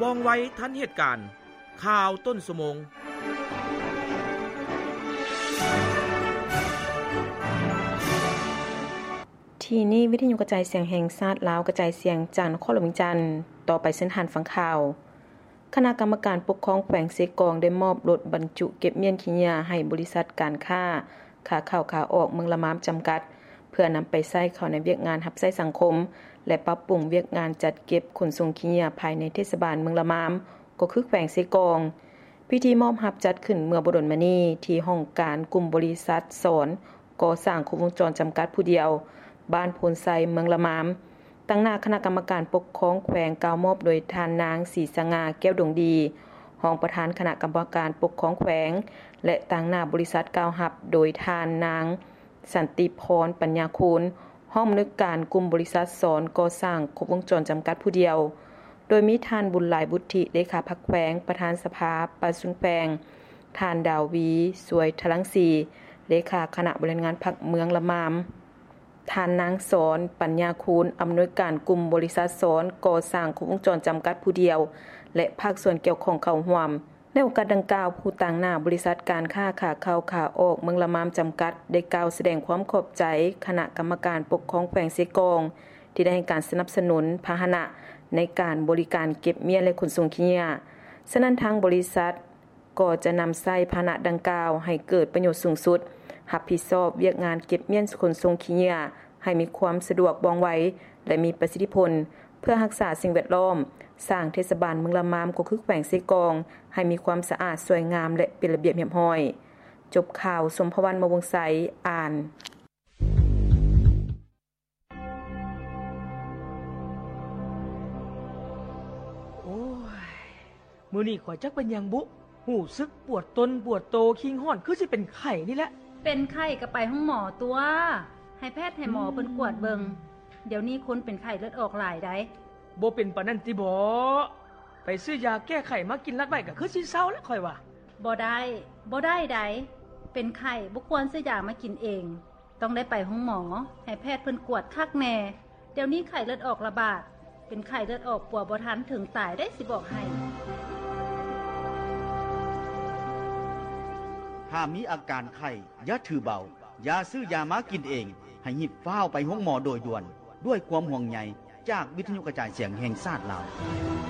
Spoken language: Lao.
ວ່ອງໄວທັນເຫດການ. ຂ່າວຕົ້ນຊົ່ວໂມງ. ທີ່ນີ້ ວິທະຍຸກະຈາຍສຽງແຫ່ງຊາດລາວ ກະຈາຍສຽງຈາກນະຄອນຫຼວງວຽງຈັນ. ຕໍ່ໄປເຊີນທ່ານຟັງຂ່າວ. ຄະນະກຳມະການປົກຄອງແຂວງເຊກອງ ໄດ້ມອບລົດບັນຈຸເກັບມ້ຽນຂີ້ເຫຍື້ອໃຫ້ບໍລິສັດການຄ້າ ຂາເຂົ້າຂາອອກເມືອງລະມາມຈຳກັດ ເພື່ອນຳໄປໃຊ້ເຂົ້າໃນວຽກງານຮັບໃຊ້ສັງຄົມ ແລະ ປັບປຸງວຽກງານຈັດເກັບຂົນສົ່ງຂີ້ເຫຍື້ອພາຍໃນເທດສະບານເມືອງລະມາມ ກໍຄືແຂວງເຊກອງ. ພິທີມອບຮັບຈັດຂຶ້ນເມື່ອບໍ່ດົນມານີ້ ທີ່ຫ້ອງການກຸ່ມບໍລິສັດສອນກໍ່ສ້າງຄົບວົງຈອນຈຳກັດຜູ້ດຽວ ບ້ານໂພນໄຊ ເມືອງລະມາມ. ຕາງໜ້າຄະນະກຳມະການປົກຄອງແຂວງ ກ່າວມອບໂດຍທ່ານນາງ ສີສະຫງ່າ ແກ້ວດົງດີ ຮອງປະທານຄະນະກຳມະການປົກຄອງແຂວງ ແລະ ຕາງໜ້າບໍລິສັດ ກ່າວຮັບໂດຍທ່ານນາງ ສັນຕິພອນ ປັນຍາຄູນ ຮອງອຳນວຍການກຸ່ມບໍລິສັດສອນກໍ່ສ້າງຄົບວົງຈອນຈຳກັດຜູ້ດຽວ, ໂດຍມີທ່ານ ບຸນຫຼາຍ ບຸດທິ ເລຂາພັກແຂວງ, ປະທານສະພາປະຊາຊົນແຂວງ, ທ່ານ ດາວີ ສວຍທະລັງສີ ເລຂາຄະນະບໍລິຫານງານພັກເມືອງລະມາມ, ທ່ານນາງ ສອນ ປັນຍາຄູນ ອຳນວຍການກຸ່ມບໍລິສັດສອນກໍ່ສ້າງຄົບວົງຈອນຈຳກັດຜູ້ດຽວ ແລະ ພາກສ່ວນກ່ຽວຂ້ອງເຂົ້າຮ່ວມ. ໃນໂອກາດດັ່ງກ່າວ, ຜູ້ຕາງໜ້າບໍລິສັດການຄ້າຂາເຂົ້າຂາອອກເມືອງລະມາມຈຳກັດ ໄດ້ກ່າວສະແດງຄວາມຂອບໃຈຄະນະກຳມະການປົກຄອງແຂວງເຊກອງ ທີ່ໄດ້ໃຫ້ການສະໜັບສະໜູນພາຫະນະໃນການບໍລິການເກັບມ້ຽນ ແລະ ຂົນສົ່ງຂີ້ເຫຍື້ອ. ສະນັ້ນ, ທາງບໍລິສັດ ກໍຈະນຳໃຊ້ພາຫະນະດັ່ງກ່າວໃຫ້ເກີດປະໂຫຍດສູງສຸດ, ຮັບຜິດຊອບວຽກງານເກັບມ້ຽນຂົນສົ່ງຂີ້ເຫຍື້ອໃຫ້ມີຄວາມສະດວກ, ວ່ອງໄວ ແລະ ມີປະສິດທິຜົນ ເພື່ອຮັກສາສິ່ງແວດລ້ອມ, ສ້າງເທດສະບານເມືອງລະມາມ ກໍຄືແຂວງເຊກອງ ໃຫ້ມີຄວາມສະອາດ, ສວຍງາມ ແລະ ເປັນລະບຽບຮຽບຮ້ອຍ. ຈົບຂ່າວ, ຊົມພະວັນ ມະວົງໄຊ ອ່ານ. ໂອ້ຍ ມື້ນີ້ຂ້ອຍຈັກເປັນຫຍັງບຸ ຮູ້ສຶກປວດຕົນປວດໂຕ, ຄີງຮ້ອນ ຄືຊິເປັນໄຂ້ນີ້ແຫຼະ. ເປັນໄຂ້ກໍໄປໂຮງໝໍຕົວະ, ໃຫ້ແພດໃຫ້ໝໍເພິ່ນກວດເບິ່ງ. ດຽວນີ້ຄົນເປັນໄຂ້ເລືອດອອກຫຼາຍໃດ໋. ບໍ່ເປັນປານນັ້ນຕິບໍ? ໄປຊື້ຢາແກ້ໄຂ້ມາກິນລັດໄວ້ ກໍຄືຊິເຊົາແຫຼະຂ້ອຍວ່າ. ບໍ່ໄດ້, ບໍ່ໄດ້ໃດ໋. ເປັນໄຂ້ບໍ່ຄວນຊື້ຢາມາກິນເອງ. ຕ້ອງໄດ້ໄປໂຮງໝໍ, ໃຫ້ແພດເພິ່ນກວດຄັກແນ່. ດຽວນີ້ໄຂ້ເລືອດອອກລະບາດ, ເປັນໄຂ້ເລືອດອອກປົວບໍ່ທັນເຖິງຕາຍໄດ໋ ຊິບອກໃຫ້. ຖ້າມີອາການໄຂ້, ຢ່າຖືເບົາ, ຢ່າຊື້ຢາມາກິນເອງ, ໃຫ້ຮີບຟ້າວໄປໂຮງໝໍໂດຍດ່ວນ. ດ້ວຍຄວາມຫ່ວງໃຍຈາກວິທະຍຸກະຈາຍສຽງແຫ່ງຊາດລາວ.